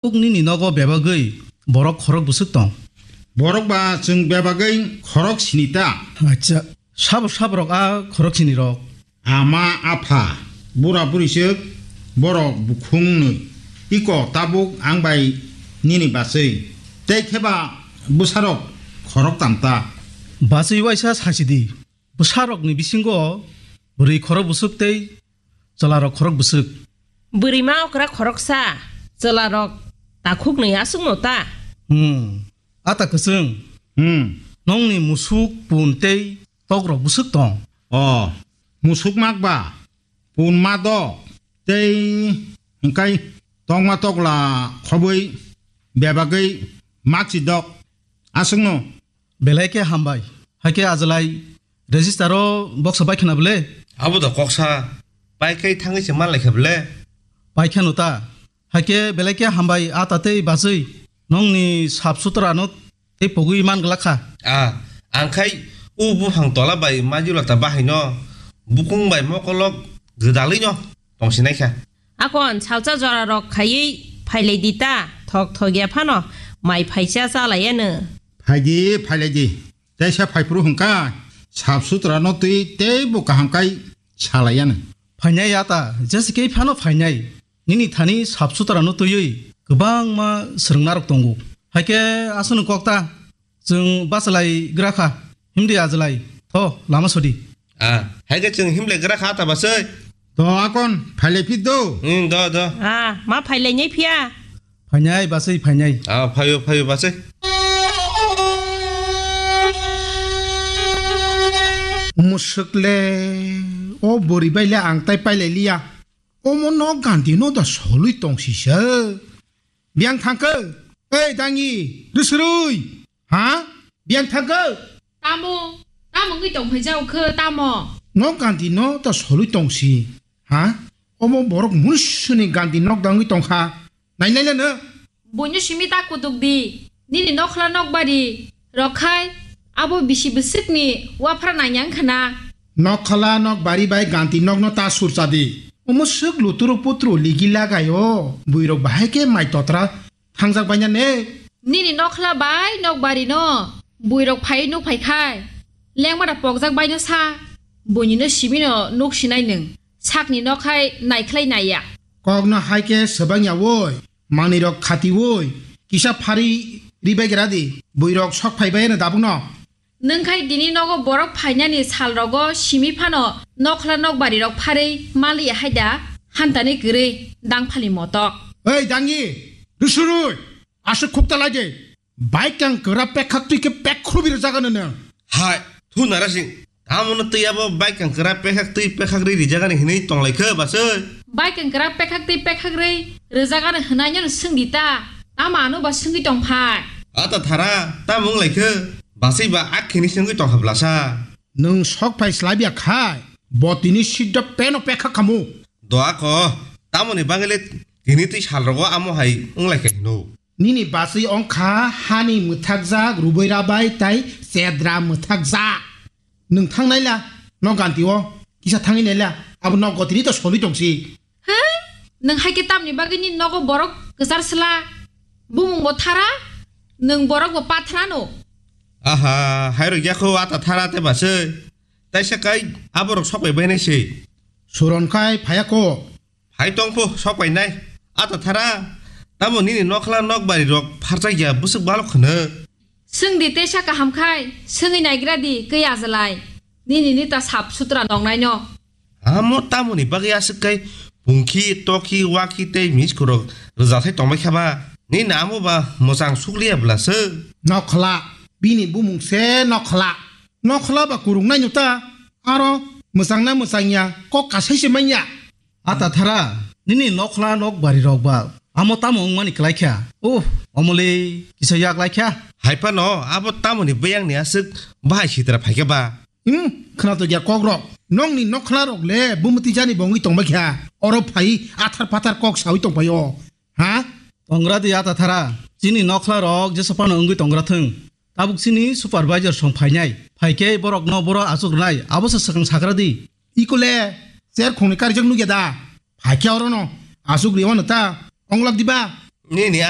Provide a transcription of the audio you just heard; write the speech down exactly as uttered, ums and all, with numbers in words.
Tabuk nini nogo bebagwi borok khorok bwswk tong? Borok ba chwng bebagwi khorok sini ta. Acha, sabo saborok a khorok sini rok? Ama, apha, bura buriswk, borok bukhungnwi. Iko tabuk ang bai nini bachwi. Tei kheba bwsarok khorok tam ta. Bachwi waisa sasi di. Bwsarokni bisingo bwrwi khorok bwswk tei chwlarok khorok bwswk. Bwrwima okra khoroksa, chwlarok takhuknwi aswkno ta. Hmm, ata kwchwng. Hmm. Nongni musuk, pun tei tokrok bwswk tong? O, musuk mak ba, pun ma dok, tei hwnkhe tokma tokla khobwi bebagwi mak si dok. Aswkno. Belai khe hambai. Haikhe ajwlai register o boksa bai khna bwle? Abo da koksa. Pai khai thangwi se man lai kha bwle? Pai kheno ta. Haikhe belai khe hambai a ta tei bachwi. Nongni sap sutra no tei pogwi man glak kha. A, ang khai u buphang tola bai majula ta bahai no. Bukung bai mokolok gwdalwi no tongsinai kha. Akon salsa jora rok khaiwi phailai di ta, thok thok ya phano mai phaisa chalai ano. Phaidi, phailai di. Teisa phaiphuru hwnkha, sap sutra no twi tei bo kaham kai salai ano. Phainai ya ta, jese kei phano phainai. Nini thani sap sutra no twiwi kwbangma swrwngna rok tongo. Haikhe aswkno kok ta. Chwng bachalai gra kha, himdi ajwlai, tho, lama sodi. Ah, hai khe chwng himlai gra kha ta bachai. To akon, phailai phi do. Hmm, do, do. Ah, ma phailai nai phiya. Phainai bachai, phainai. Ah, phaio, phaio bachai. Musuk le, o bwrwi bai le ang tai pailai liya. Omo no gandi no da solwi tong sisa. Biyang thangkhe, ei dangi, rwsrwi, ha? Biyang thangkhe? Tamo, tamo wngwi tong phai jao khe, tamo? No gandi no ta solwi tong si, ha? Omo borok munisuni gandi nok da wngwi tong kha, nai nai leno? Buino simi ta kutuk di, nini nokhla nokbari rok khai, abo bisi bwswkni waphra nai yang khna. Nokhla nokbari bai gandi nokno ta surcha di, omo swk luturu putru ligi lagai o, buirok bahai khe mai totra thangjak baina ne. Nini nokhla bai nokbari no buirok phai nuk phai khai. Lengma da pokjak baino sa. Buini no simi no nuk sinai nwng. Sakni nokhai naikhlai naiya. Kok no hai khe swbang ya woi. Manwi rok khati woi. Kisa phari ri bai gra di. Buirok sok phai bai no dabuk no. Nwng khai dini nogo borok phainani sal rogo simi phano nokhla nokbari rok pharwi maliya hai da hantani kwrwi dangphali motok. Ei dangi, rusurui, aswk khukta lai de. Baikang kwra pekhak twi khe pek khrubi rwjagano nwng. Hai, thu narasing, tamo no twi abo baikang kwra pekhak twi pekhak ri rijagani hinwi tonglai khe baswi? Baikang kwra pekhak twi pekhak ri rwjagano hwnai no swngdi ta, tamo ano ba swngwi tong phai? Ata thara, tamo wng lai khe? Baswi ba akhini se wngwi tong kha blasa. Nwng sok phai slai biya khai, bo tini sidda peno pekhak khamu. Doa ko, tamoni bagwi le tini twi sal rogo amo hai wng lai khe hino. Nini bachwi wngkha hani mwthakjak, rubui rabai tai chedra mwthakjak. Nwng thang naila, nok ganti o, kisa thangwi naila, abo nok gotini to solwi tongsi. He? Nwng hai khe tamni bagwi nini nogo borok kwchar sla? Bumung bo thara, nwng borok bo pathra no. Aha, hai rok yakho ata thara te baswi. Taisa kai aborok sok bai bainai se. Suron khai phaya ko. Hai tong pho, sok pai nai. Ata thara, tamo nini nokhla nokbari rok pharchak ya bwswk balok khwno? Swng di tesa kaham khai, swngwi naigra di kwi ajalai. Nini nita sap sutra nongnai no. Amo tamoni bagwi aswk kai pungkhi, tokhi, wakhi tei misku rok rwjathai tongbai kha ba? Nini amo ba mwchang sukliya bwla se? Nokhla, bini bumung se nokhla. Nokhla ba kurung nai no ta, aro mwchang na mwchang ya, kok kasai se manya. Ata thara, nini nokhla nokbari rok ba amo tamo wngmani kwlai kha? Uh, omole kisa yak lai kha. Hai phano abo tamoni beyang ni aswk bahai sitra phai kha ba? Hmm, khwnatok ya kok rok. Nokni nokhla rok le bumti jani bo wngwi tong bai kha. Oro phai athar pathar kok sawi tong pai o. Ha? Tongra di ata thara. Chini nokhla rok jesa phano wngwi tongra thung. Tabuk chini supervisor song phainai. Phaikhe borok no boro achuk rwnai. Abo se swkang sakra di. Ikole, cher khongni karijak nukya da? Phaikhe oro no. Achuk riwano ta. Onglak diba? Nini a